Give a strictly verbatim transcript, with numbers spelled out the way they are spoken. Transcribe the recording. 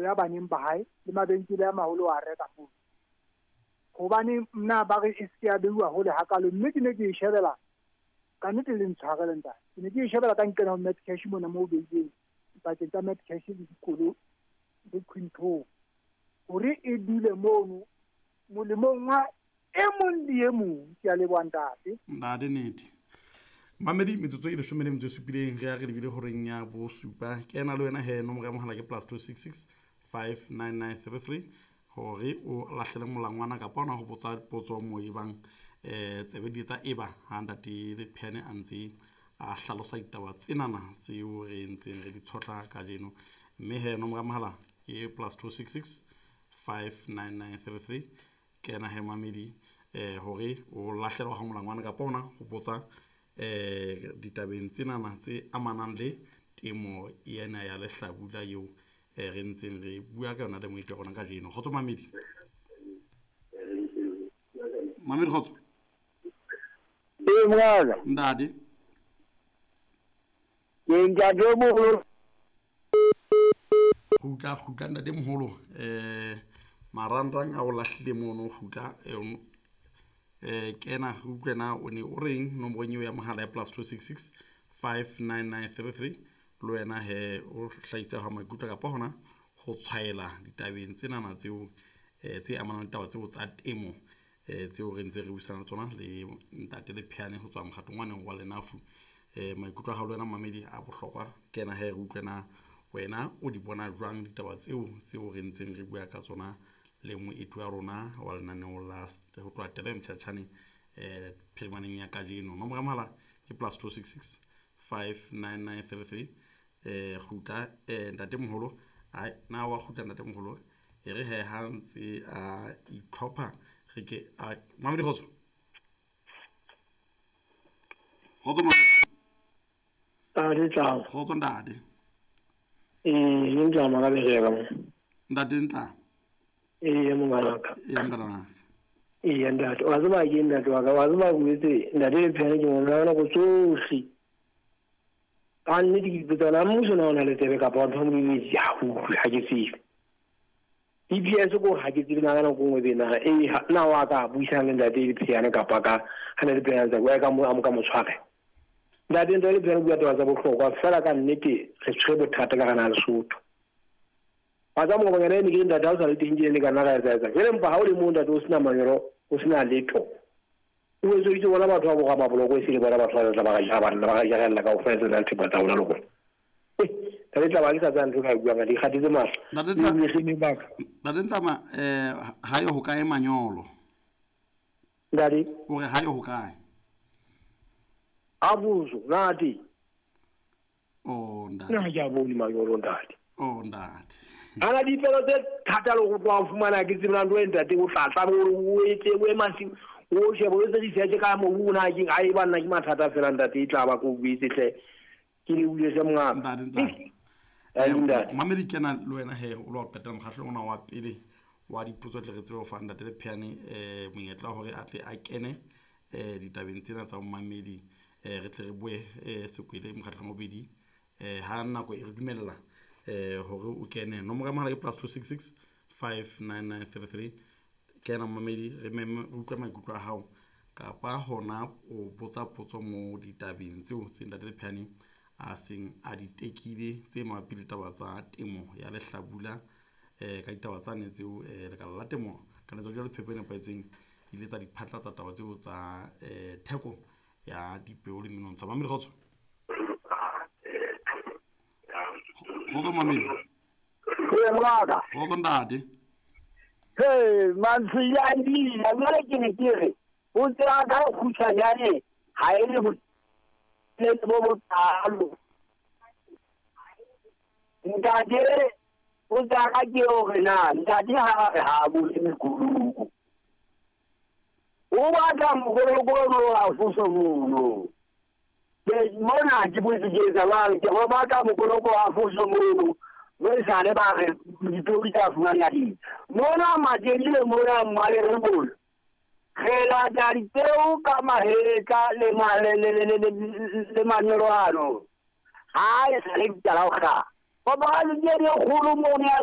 o ya baneng ba hae le mabenkele a maholo a reka moo. Hobane nna ba re e se ya beuwa hole hakalo, mme ke ne ke e shebela ka nnete le ntshwarele ntate. Ke ne ke e shebela ka nkena ho Metcash mona moo beileng pakeng tsa Metcash le dikolo le Quinto, hore e dule mono molemong wa e mong le e mong. Ke a leboha ntate. Ntate nete. Mamedi metsotso e leshome le metso e supileng re ya re lebile horeng ya bosupa. Kena le wena he, nomoro ya mohala ke plus two six six five nine nine three three hore o lahlele molangwana kapa ona ho botsa potso moo e bang eh tsebe di tsa eba ha ntate Lepheane a ntse a hlalosa ditaba tsenana tseo re ntseng re di tshotla kajeno. Mme he nomoro ya mohala ke plus two six six five nine nine three three. Kena he mamedi eh hore o lahlelwa ha molangwana kapa ona ho botsa eh ditabeng tsenana tse amanang le temo ena ya lehlabula eo eh re ntseng re bua ka yona le moeti wa rona kajeno. Kgotso mamedi. Mamedi kgotso. Ee mongaka. Ntate. Ke ntate moholo. Kgutla, kgutla ntate moholo. Eh marangrang a o lahlile mono, kgutla eh kena re utlwe na o ne o reng nomorong eo ya mohala ya plus two six six five nine nine three three. Le wena he o hlahisa ha maikutlo kapa hona ho tshwaela ditabeng tsenana tseo eh tse amanang le taba tseo tsa temo eh tseo re ntse re buisana le tsona le ntate Lepheane ho tswa mokgatong wa neng wa Lenafu. Eh maikutlo a hao le wena mamedi a bohlokwa. Kena he re utlwe na wena o di bona jwang ditaba tseo tseo re ntseng re bua ka tsona le moeti wa rona wa lenaneo la ho tloha Tele Mtjhatjhane eh phirimaneng ya kajeno. Nomoro ya mohala ke plus two six six five nine nine three three. Eh kgutla eh ntate moholo. Ai na wa kgutla ntate moholo e re he ha ntse a itlhopha re ke a mamedi kgotso. Kgotso mamedi. Ntate tla. Kgotso ntate. Eh ntlama ka bereka mo. Ntate ntla. Ee mongaka. Ee mongaka. Ee ntate, wa tseba ke ntate wa ka, wa tseba o etse ntate Lepheane ke mona nako tsohle. Ka nnete ke ipotsa na mmuso na o na le tsebe kapa wa ntho mo e ya ho ha ke tsebe. D P S ko ha ke tsebe na ka nako nngwe be na e na wa ka buisana le ntate Lepheane kapa ka ha na le Lepheane tsa ka mo a mo ka mo tshware. Ntate ntate Lepheane bua taba tsa bohlokwa fela ka nnete re tshwere bothata ka gana Lesotho. Ba tsa mo bangana ne ke ntate ha o sa le teng ke le kana ga etsa etsa. Jwale mpa ha o le mo ntate o sena manyolo, o sena letho. O etso itse bona batho ba boga maboloko e se le bona batho ba tla ba ga ja bana ba ga jarella ka ofela tsena thepa tsa bona le gona. Eh, tla tla ba ke sa tsang ntho ka bua ka di kgatitse mahlo. Ntate Ntate Ntlama eh ha yo ho kae manyolo? Ntate o re ha yo ho kae? Abuzo nati. Oh ntate. Nna ke a bone manyolo ntate. Oh ntate. Ana dipelo tse thata le go tloha fumana ke tsebela ntho e ntate o tla tla o etse o emasi o shebe o etse research ka mobu na ke a e ba nna ke mathata fela ntate e tla ba ko buitse hle ke le buile se mongaka. Ntate ntate. Eh ntate. Mamedi kena le wena he o lo qetela mokgahlelo ona wa pele wa dipotso tle re tsebe ho fa ntate Lepheane eh monyetla hore a tle a kene eh ditabeng tsena tsa mamedi eh re tle re bue eh sekwele mokgahlelong wa bobedi eh ha nako e re dumella eh hore o kene. Nomoro ya mohala ke plus two six six five nine nine three three. Kena mamedi re meme re utlwe maikutlo a hao kapa hona o botsa potso mo ditabeng tseo tse ntate Lepheane a seng a di tekile tse mabapi le taba tsa temo ya lehlabula eh ka ditaba tsane tseo eh lekala la temo ka letsatsi la phepo e nepahetseng ile tsa diphatla tsa taba tseo tsa eh theko ya dipeo le menontsha. Mamedi kgotso. Kgotso mamedi. Ee mongaka. Kgotso ntate. Hey mantsiyandi la jwale ke ne ke re o tseba ka kgutshwanyane ha e le le bo botlalo. Ntate o tsaka ke hore na ntate ha re ha bule mekoloko. O batla mokoloko o a fuso mono. Ke mona ke botse ke etsa jwang, ke o batla mokoloko a fuso mono. Mo e sale ba re dipeo di tla fumana di. Mona Matelile mona Malerebolo. Re lata dipeo ka mahetla le le le le le manyolo ano. Ha e sale di tla o kga. Ba ba le di kgolo mona